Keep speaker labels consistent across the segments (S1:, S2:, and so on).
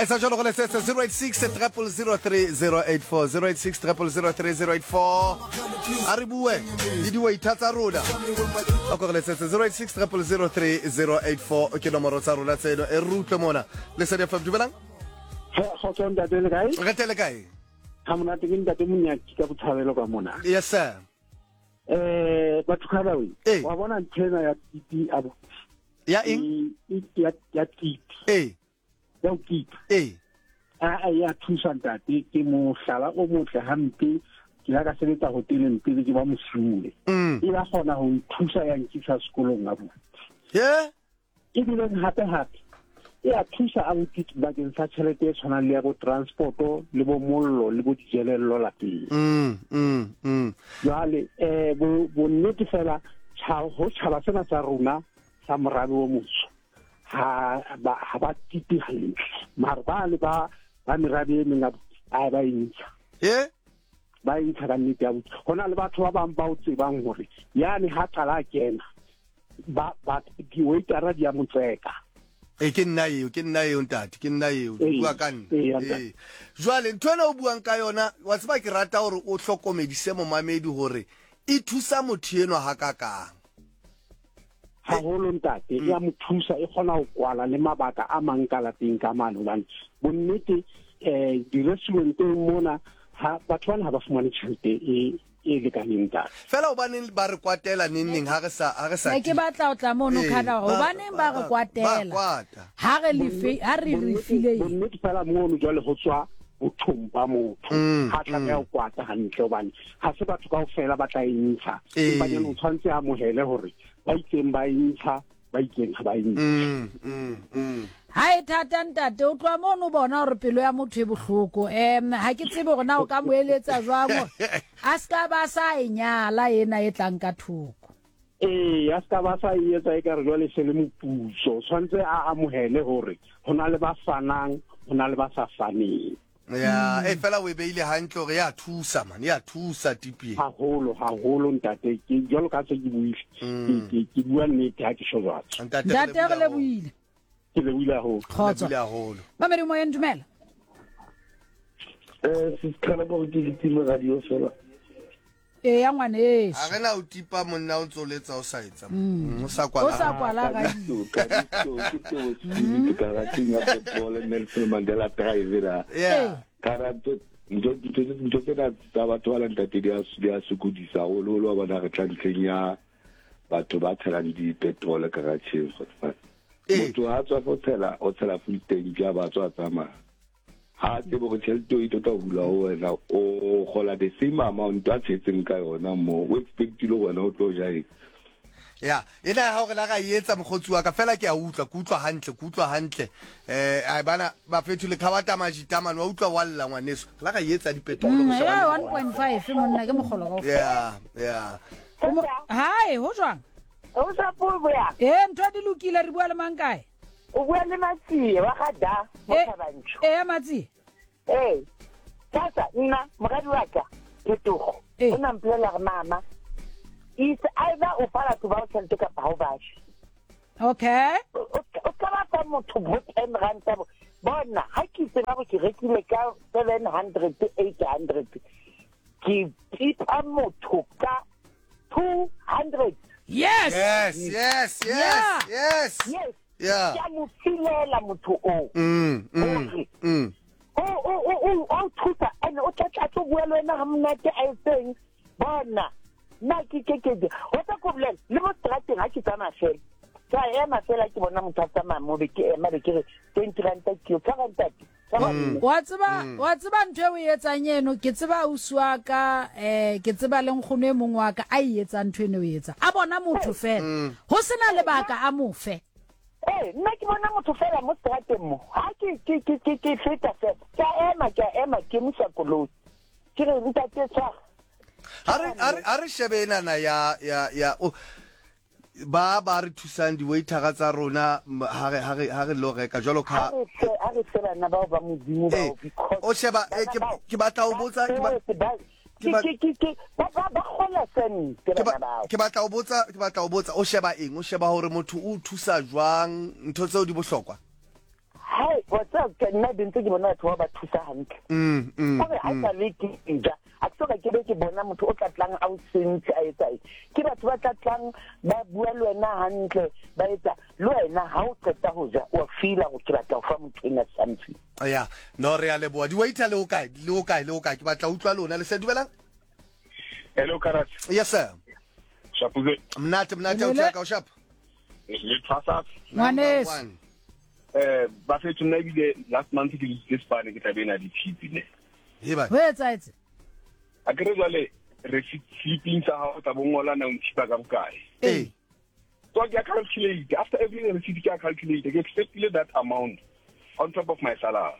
S1: Etsa jalo go letsetse 086 0003084, 086 0003084. A re bue le di-waiter tsa rona. A ko re letsetse 086 0003084, ke nomoro tsa rona tseno. E re utlwe mona. Lesedi FM, dumelang.
S2: Kgotso ntate, le kae?
S1: Re tele kae?
S2: Ha monate, ke ntate Monyaki ka Botshabelo ka mona.
S1: Yes sir.
S2: Batho ka bawe. Wa bona nthena ya tipi a
S1: Ya eng?
S2: Ya tipi. Ya ho kipa. A ya thusa ntate, ke mohlala o motle hampe. Ke la ka sebetsa hoteleng pele ke ba mosuwe. E ba kgona ho nthusa ya nkisa sekolong abuti. Ebileng hape hape e a thusa abuti bakeng sa tjhelete e tshwanang le ya bo transporto le bo mollo le bo dijelello lapeng. Jwale bonnete fela ho tjhaba sena sa rona sa morabe o motsho ha ba tipe hantle, mara ba le ba merabe e meng a ba e ntsha. Ba e ntsha ka nnete abuti. Ho na le batho ba bang ba o tsebang hore yane ha qala a kena ba di-waitera di a mo tseka.
S1: E ke nna eo, ke nna eo ntate, ke nna eo, bua ka nna. Ee. Jwale ntho ena o buang ka yona, wa tseba ke rata hore o hlokomedise momamedi hore e thusa motho enwa hakakang.
S2: Haholo ntate, e a mo thusa, e kgona ho kwala le mabaka a mang ka lapeng ka mane, hobane bonnete di-restauranteng mona ha batho bana ha ba fumane tjhelete e e lekaneng ntate.
S1: Fela hobaneng ba re kwatela neng neng ha re sa ha re sa
S3: Ne ke batla ho tla mono khana hore hobaneng ba re kwatela ha re lefe ha re re file eng.
S2: Bonnete fela mono jwale ho tswa bothong ba motho ha tlameha ho kwata hantle, hobane ha se batho kaofela ba tla e ntsha, empa jwale o tshwanetse a amohele hore ba itseng ba e ntsha, ba itseng ha ba e ntshe.
S3: Ha e thata ntate, o tloha mono o bona hore pelo ya motho e bohloko. Ha ke tsebe hore na o ka mo eletsa jwang hore a se ka ba sa e nyala ena e tlang ka thoko.
S2: Ee, a se ka ba sa e etsa ekare jwale se le moputso. Tshwanetse a amohele hore ho na le ba fanang, ho na le ba sa faneng.
S1: Ya, e fela o e beile hantle hore ya thusa man, ya thusa tipi.
S2: Haholo, haholo ntate, ke jwalo ka se ke buile. Ke ke bua nnete ha ke sho jwalo.
S3: Ntate re lebohile.
S2: Ke lebohile haholo.
S3: Kgotso. Mamedi moyeng, dumela.
S4: Se qala go ke ke time radio fela.
S3: Ee ya ngwaneso.
S1: A re na o tipa monna o ntse o letsa o sa etsa. O sa kwala.
S3: O sa kwala radio.
S4: Ka ditso ke teo spirit ka rateng ya football Nelson Mandela Drive la.
S1: Yeah.
S4: Ka rato ntho ntho tsena tsa batho ba ntate di a di a sokodisa haholo holo wa bona re tla ntlheng ya batho ba tshelang di-petrol garageng. Motho ha tswa fo tshela o tshela full tank ya ba tswa tsamaya. Ha tsebe gore tšhelete o e tlo tla hula ho wena, o gola the same amount a tshetseng ka yona mo, o expectile gore wena o tlo ja eng.
S1: Ya, ena ya hao re la ra e etsa mokgotsi wa ka, fela ke a utlwa, ke utlwa hantle, ke utlwa hantle. Ai bana bafethu le khabata majita man, wa utlwa wa lla ngwaneso. Re la ra e etsa dipetrolo go shebana le
S3: 1.5 monna ke mogolo kaofela.
S1: Yeah, yeah.
S3: Hi, ho jwang?
S5: O sa puo ya.
S3: Ntho di lokile, re bua le mang kae?
S5: O bua le Matsie wa ga Da mo Thabantsho.
S3: Matsie.
S5: Tata nna moradi wa ka Phetogo. O na mpolelela gore mama is either o fa batho ba o tšhelete kapa ha o ba fe.
S3: Okay.
S5: O ka ba fa motho bo 10 rand bo. Bona ha ke tseba gore ke rekile ka 700 800 ke tipa motho ka 200.
S3: Yes.
S1: Yes, yes, yes, yes.
S5: Yes.
S1: Yeah.
S5: Ke a mo filela motho o. O thusa and o tla tla tlo bua le wena ha monate a etseng. Bona nna ke ke ke o tla ko bolela le mo strateng ha ke tsamaya fela. Ke a ema fela ke bona motho a tsamaya mo be ke ema be ke re 20 ranta ke yo tshwara ntate.
S3: Wa tseba, wa tseba ntho e o e etsang eno, ke tseba ausi wa ka, ke tseba le nkgono e mongwe wa ka a e etsang ntho eno o e etsang. A bona motho fela, ho sena lebaka a mo fe.
S5: Ee, nna ke bona motho fela mo strateng mo. Ha ke ke ke ke ke feta fela, ke a ema, ke a ema, ke emisa koloi. Ke re ntate tshwara.
S1: Ha re ha re shebe enana ya ya ya o ba ba re thusang di-waitera tsa rona ha re ha re ha re lo reka jwalo ka
S5: ha re fe bana bao ba Modimo bao because
S1: o sheba ke batla ho botsa ke
S5: ba ba kgola sente bana bao.
S1: Ke batla ho botsa ke batla ho botsa o sheba eng, o sheba hore motho o thusa jwang, ntho tseo di bohlokwa.
S5: Hai, wa tseba ke nna be ntse ke bona batho ba ba thusa hantle. Kore ha sa le ke ja, ha ke soka ke be ke bona motho o tla tlang a o sentse a etsa eng. Ke batho ba tla tlang ba bua le wena hantle, ba etsa le wena ha o qeta ho ja wa feela hore ke batla ho fa motho ena something.
S1: Ya, no re a leboha. Di-waiter le ho kae? Le ho kae? Le ho kae? Ke batla ho utlwa lona. Le se dumelang?
S6: Hello, Karat.
S1: Yes, sir.
S6: Shapuze.
S1: Mnate, mnate, o
S3: Hello.
S1: ka o shap.
S6: Le tshwasa.
S1: Number
S3: Ngwaneso.
S1: one.
S6: Eh, ba fetho nna ebile last month ke dutse sepane ke tlabe ena di-tip ne.
S1: He ba.
S3: Ho etsahetse?
S6: A ke re jwale receipt sleeping sa hao tla bo ngola na o nthipa ka bokae.
S1: Ee.
S6: So ke a calculate after every receipt ke a calculate ke expectile that amount on top of my salary.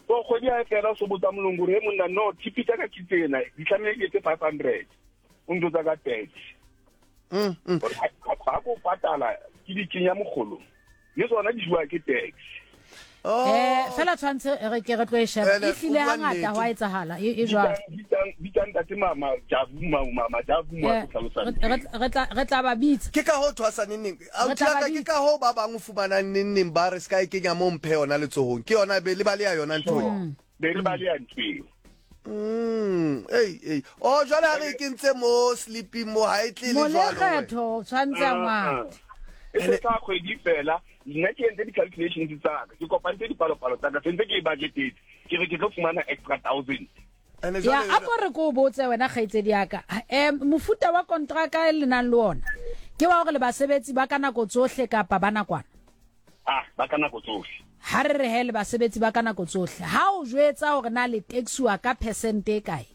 S6: So kgwedi ha e fela o so botsa molongo hore he monna no tip tsa ka ke tsena di tlamehile ke etse 500 o ntotsa ka 30. Hore ha ko patala ke di kenya mokgolong le tsona di jewa ke tax.
S1: Oh.
S3: Eh, fela tshwantshe re ke re tlo e sheba.
S1: Ene,
S3: E hlile
S1: o bua
S3: hangata
S1: nnete.
S3: ho a etsahala e e jwalo.
S6: Bitsang ntate mama Jabu mama Jabu mo
S3: Eh,
S6: a tlhalosang.
S3: re tla ba bitsa.
S1: Ke ka ho thwasa neng neng.
S3: Re
S1: Ausi
S3: tla ba
S1: ya ka ke
S3: bitsa.
S1: ka ho ba bang o fumanang neng neng ba re ska e kenya mo mphe yona letsohong. Ke yona be le ba le ya yona ntho eo.
S6: Be re ba le ya ntho eo.
S1: Ei, ei. Oh, jwale ha re e kentse mo sleeping mo ha e tle le jwalo. wena.
S3: Molekgetho tshwantse a ngwate.
S6: E se tla kgwedi fela nna ke entse di-calculations tsa ka ke kopantse dipalopalo tsa ka sentse ke e budgetetse ke re ke tlo fumana extra 1000.
S1: Ene
S3: Ya,
S1: jwale
S3: a ko re ko o botse wena kgaitsedi ya ka. Mofuta wa kontraka e le nang le ona ke wa hore le basebetsi ba ka nako tsohle kapa ba nakwana?
S6: Ah, ba ka nako tsohle.
S3: Ha re re he le basebetsi ba ka nako tsohle. Ha o jwetsa hore na le taxiwa ka percent e kae?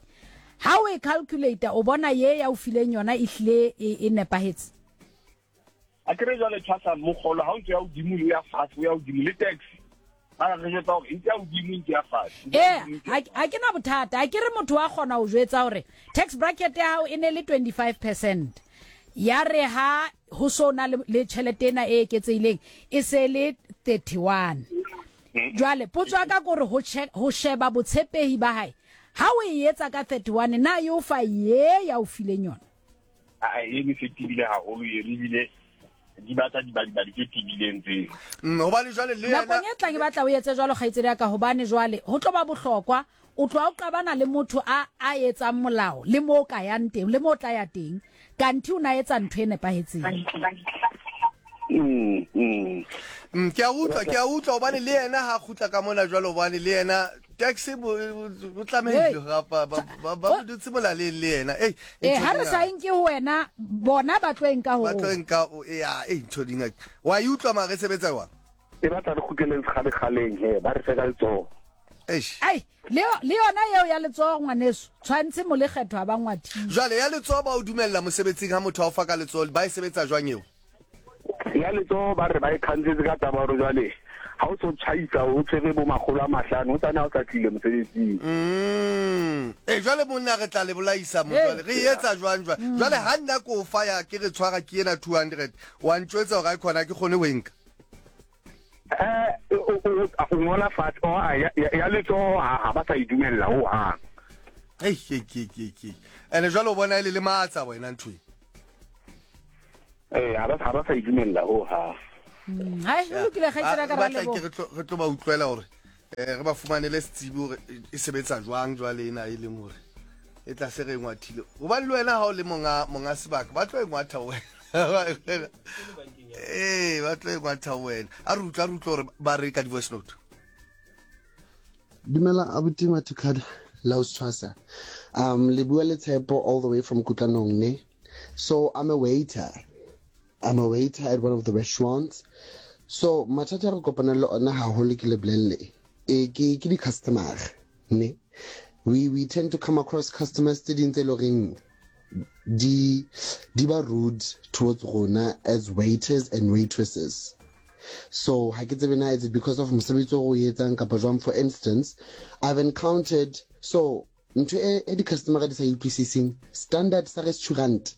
S3: Ha o e calculate o bona ye ya o fileng yona e hlile e nepahetse?
S6: A ke re jwale tshwasa mokgolo ha o ntse ya hodimo o ya fatshe o ya hodimo le tax. Ba re jwetsa hore e ntse ya hodimo e ntse ya fatshe.
S3: Eh, ha ke na bothata. Ha ke re motho wa kgona ho jwetsa hore tax bracket ya hao e ne le 25%. Ya re ha ho so na le tjhelete ena e eketsehileng e se le 31. Jwale potso ya ka ke hore ho sheba botshepehi ba hae. Ha o e etsa ka 31 na e o fa ye ya o fileng yona?
S6: A e ne se tibile haholo e ebile di batla dibadibadi tse tibileng tseo.
S1: Hobane jwale le yena
S3: Nakong e tlang e batla o etse jwalo kgaitsedi ya ka hobane jwale ho tlo ba bohlokwa o tloha o qabana le motho a a etsang molao le mo o ka yang teng le mo o tla ya teng kanthe o na etsa ntho e nepahetseng.
S1: Ke a utlwa, ke a utlwa hobane le yena ha kgutla ka mona jwalo hobane le yena taxi bo tlamehile gapa ba ba dutse molaleng le yena. Ei,
S3: Eh, ha re sa e nke ho wena bona ba tlo e nka ho
S1: ba tlo e
S3: rona.
S1: nka o ya ei ntho di ngaka. Wa e utlwa mare e sebetsa jwang?
S4: E batla re kgutleleng sekgalekgaleng he ba re fe ka letsoho.
S1: Eish.
S3: Ai, le yona eo ya letsoho ngwaneso tshwantse molekgetho a ba ngwathile.
S1: Jwale ya letsoho ba o dumella mosebetsing ha motho a o fa ka letsoho ba e sebetsa jwang eo?
S4: Ya letsoho ba re ba e khantsetse ka taba hore jwale ha o so tjhaisa o tshwere bo makgolo a mahlano o tsane ha o sa tlile mosebetsing.
S1: Eh jwale monna re tla le bolaisa mo jwale re etsa jwang jwale? Jwale ha nna ko o fa ya ke re tshwara ke ena 200 wa ntjwetsa hore ha e khona ke kgone ho e nka.
S4: Eh o ngola fatshe o ya letsoho ha ba sa e dumella ho hang.
S1: Ei ke ke ke ke. Ene jwale o bona e le lematsa wena ntho e.
S4: Eh ha ba sa e dumella ho hang.
S3: Hai, o lokile kgaitsedi ya ka ra
S1: Batla
S3: leboha.
S1: ke re tlo ba utlwela hore re ba fumanele setsibi hore e sebetsa jwang jwale ena e leng hore e tla se re ngwathile. Hobane le wena ha o le monga sebaka ba tlo e ngwatha wena. Eh, ba tlo e ngwatha wena. A re utlwa hore ba re ka di-voice note.
S7: Dumela abuti Mathukada la o tshwasa. Le bua le Tshepo all the way from Kutlanong ne. So I'm a waiter. I'm a waiter at one of the restaurants. So mathata re kopana le ona haholo ke le bolelle. E ke di customer ne. We tend to come across customers tse ding tse loreng di ba rude towards rona as waiters and waitresses. So ha ke tsebe na is it because of mosebetsi o re o etsang kapa jwang. For instance, I've encountered so ntho e di customer di sa utlwisiseng standard sa restaurant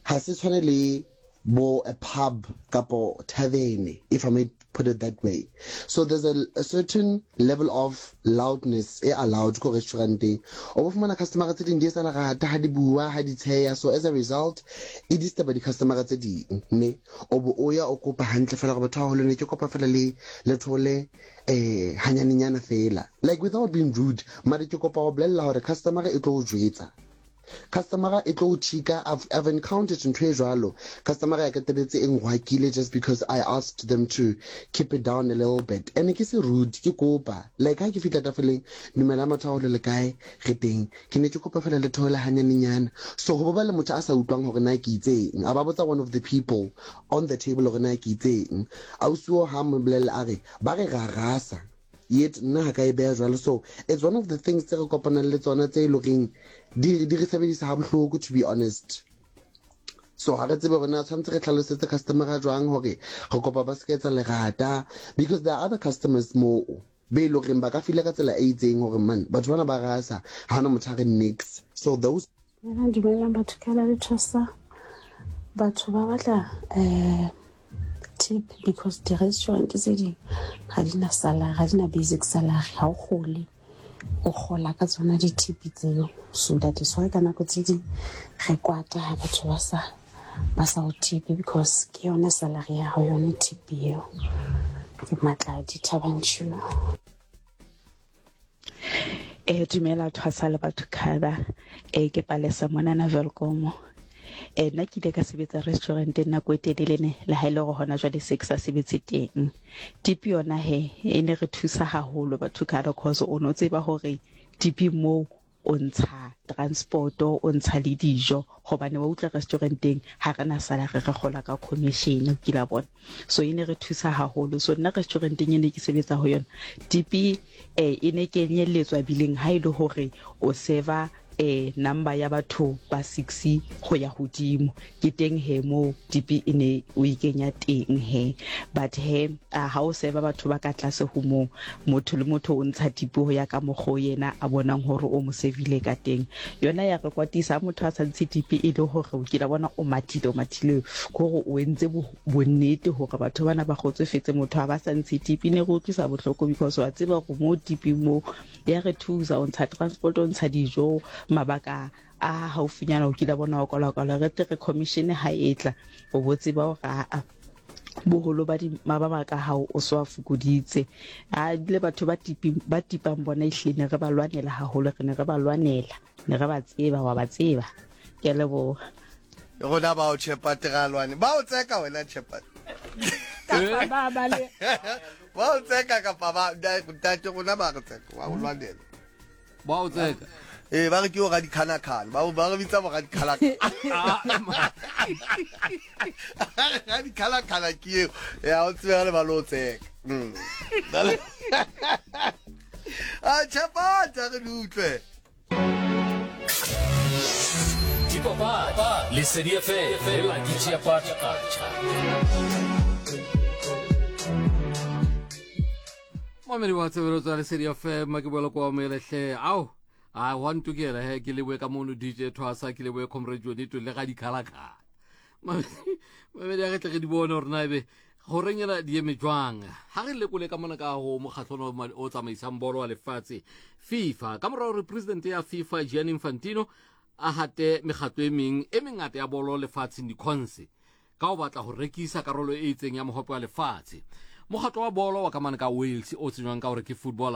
S7: ha se tshwane le bo a pub kapo tavern, if I may put it that way. So there's a, a certain level of loudness e allowed ko restauranteng. O bo fumana customer tse ding di etsa lerata ha di bua, ha di tsheya. So as a result, e disturba di-customer tse ding. Ne o bo o ya o kopa hantle fela gore batho ba haholo ne ke kopa fela le le thole eh hanyanenyana fela. Like without being rude, mare ke kopa go bolella hore customer e tlo o jwetsa. Customer e tlo o chika. I've, I've encountered ntho e jwalo. Customer ya qetelletse e ngwakile just because I asked them to keep it down a little bit. And ke se rude, ke kopa. Like ha ke fihla tafoleng, dumela motho wa le kae, re teng. Ke ne ke kopa fela le theole hanyanenyana. So ho ba le motho a sa utlwang hore na ke itseng. A ba botsa one of the people on the table hore na ke itseng. Ausi oo ha mo bolella a re, ba re ra rasa. Yet nna ha ka e beha jwalo. So it's one of the things tse re kopanang le tsona tse e loreng di di re sebedisa ha bohloko to be honest. So ha re tsebe hore na tshwanetse re hlalosetse customer jwang hore re kopa ba se ka etsa lerata because there are other customers moo be e loreng ba ka feel ka tsela e itseng hore man batho bana ba rasa ha hona motho a re nix. So those
S8: Dumelang, dumelang batho ka la le thusa. Batho ba batla eh tip because di-restaurant tse ding ga di na salary, ga di na basic salary, ga o gole o gola ka tsona di-tip tseo. So that is why ka nako tse ding re kwata ha batho ba sa ba sa o tipe because ke yone salary ya gago yone tip eo. Ke Matladi Thaba Nchu.
S9: Eh dumela thwasa le batho khaba eh ke palesa monana Welkom eh nna ke ile ka sebetsa restauranteng nako e telele ne le ha ile e gore hona jwale se ke sa sebetse teng tipi yona he e ne re thusa haholo batho khaba cause o no tseba hore tipi moo O ntsha transport-o, o ntsha le dijo, gobane wa utlwa restaurant-eng ga re na salary re gola ka commission, o kila bona. So e ne re thusa haholo. So nna restaurant-eng e ne ke sebetsa ho yona, tipi eh e ne kenyelletswa bileng ha e le hore o server eh number ya batho ba six go ya hodimo. Ke teng he moo tipi e ne o e kenya teng he. But he a ha o server batho ba ka tlase ho moo, motho le motho o ntsha tipi ho ya ka mokgwa o yena a bonang hore o mo servile ka teng. Yona ya re kwatisa ha motho a sa ntshe tipi e le hore o kila bona o mathile, o mathile ke hore o entse bonnete hore batho bana ba kgotsofetse, motho a ba sa ntshe tipi. E ne re utlwisa bohloko because wa tseba hore moo tiping moo ya re thusa, o ntsha transport, o ntsha dijo, mabaka a haufinyana o kile bona o kwala-kwala re tle re commission ha e tla o bo tseba hore aa boholo ba mabaka a hao o so a fokoditse. A le batho ba tipi ba tipang bona ehlile ne re ba lwanela haholo, re ne re ba lwanela, ne re ba tseba, wa ba tseba. Ke a leboha.
S1: Rona bao Chepate ga lwane. Ba o tseka wena Chepate.
S3: Kapa ba ba le
S1: Ba o tseka kapa ba ntate rona ba re tseka, ba o lwanela.
S10: Ba o tseka.
S1: Ee, ba re ke o radikhanakgana. Ba ba re bitsa bo radikhalakhala. Radikhalakhala ke eo. Ya o tsebe le ba lo tseka. A Chepate re di utlwe.
S11: Dipapadi, Lesedi FM le Lucky Chiapata Kacha.
S10: Mamedi wa tshebeletso ya Lesedi FM ke boela kwa melehle ao a wa ntokela he ke leboe ka mono DJ Thwasa ke leboe Comrade Jonito le ga dikhalakhala mamedi a re tle re di bone gore na ebe goreng ena di eme jwang ha re lekole ka mona ka go mokgatlho o tsamaisang bolo wa lefatshe FIFA ka morago gore president ya FIFA Gianni Infantino a hate mekgatlo e meng e mengata ya bolo lefatsheng dikhonse ka go batla go rekisa karolo e itseng ya mohope wa lefatshe. Mokgatlo wa bolo wa ka mane ka Wales o tsenywang ka gore ke Football.